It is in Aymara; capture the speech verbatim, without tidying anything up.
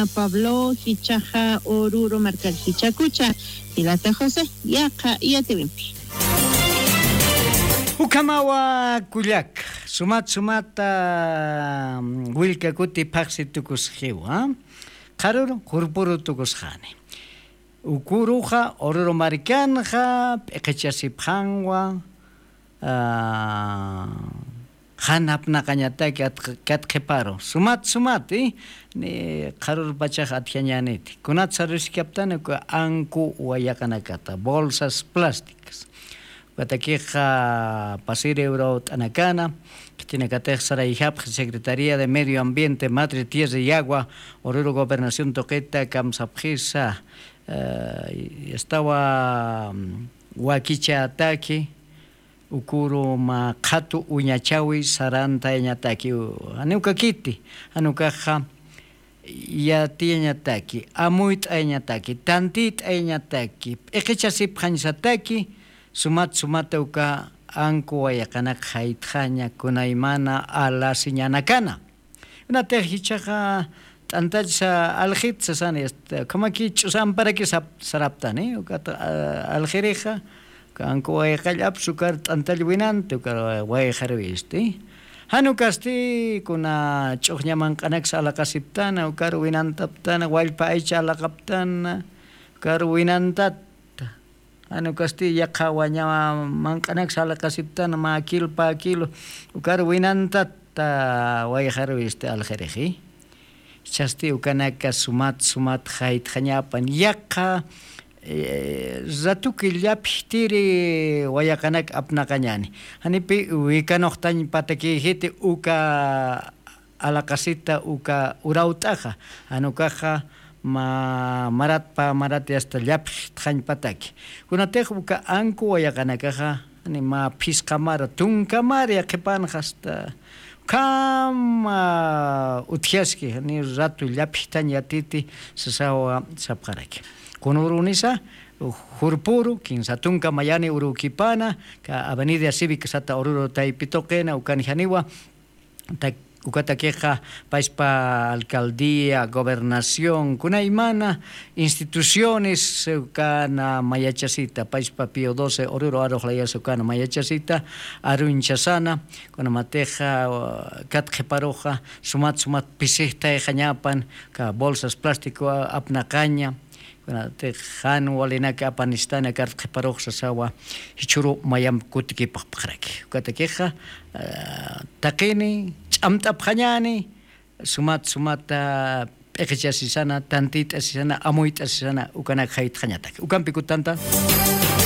Pablo jichaxa ururu markar jichakucha, jilata José, yaqha yatiwimpi. Ukhamawa kullak, sumat sumata willka kuti phaxsi tukusxiwa. Qharuru qurpuru tukusxani. Ukuruxa ururu markanxa p'iqichasipxanwa. Jan apnaqañataki katqhiparu sumat sumati. Qharurpachax atjañaniti kunat saruriskaptani uka anku wayaqanakata bolsas plásticas. Ukatakixa pasiri urawt'anakana. Khitinakatix sarayjapxi secretaría de medio ambiente madre tierra y agua ururu gobernación tuqita kamsapxisa. Estawa wakichataki ukuru mä qhatu uñachawi sarantayañataki. Janiwkakiti janukaxa yatiyañataki amuyt'ayañataki tantit'ayañataki p'iqichasipxañsataki. Sumat sumata uka anku wayaqanak jaytxaña kunaymana alasiñanakana. Unatix jichaxa t'antallsa aljit sasani. Ukhamaki ch'usamparakis saraptani ukat aljirixa. Uka anku wayqallapsa ukar t'antall winanti ukar wayqarwisti. Jan ukasti kuna ch'uxña manq'anaksa alaqasiptana ukar winantaptana wallpa aycha alaqaptana ukar winantatta. Jan ukasti yaqha waña manq'anaksa alaqasiptana mä kilo pä kilo ukar winantatta wayqarwisti aljirixi. Chasti ukanaka sumat sumat jaytxañapan yaqha ratuki llapjtiri wayaqanak apnaqañani. Janipi wikanoxtañ patakijiti uka alaqasita uka urawt'axa. Janukaxa mä maratpa marat yasta llapjtxañ pataki. Kunatix uka anku wayaqanakaxa jani mä phisqa mara tunka mara yaqhipanxa hasta ukhama utjaski jani ratu llapjtañ yatiti sasawa sapxaraki. Kunurunisa jurpuru kinsa tunka mayani urukipana ka avenida cívica sata ururu taypituqina ukan janiwa. Ukatakixa payspa alcaldía gobernación kunaymana instituciones ukana mayachasita payspa pío doce ururu arux layasa ukana mayachasita arunchasana. Kunamatixa kat qhiparuxa sumat sumat pisixtayxañapan ka bolsas plástico apnaqaña. Kunatix jan walinaka apanistana kat qhiparuxsasawa jichhuru mayamp kutikipxpxaraki ukatakixa taqini ch'amt'apxañani. Sumat sumata p'iqichasisana tantit'asisana amuyt'asisana ukanak jaytxañataki ukampi kutanta.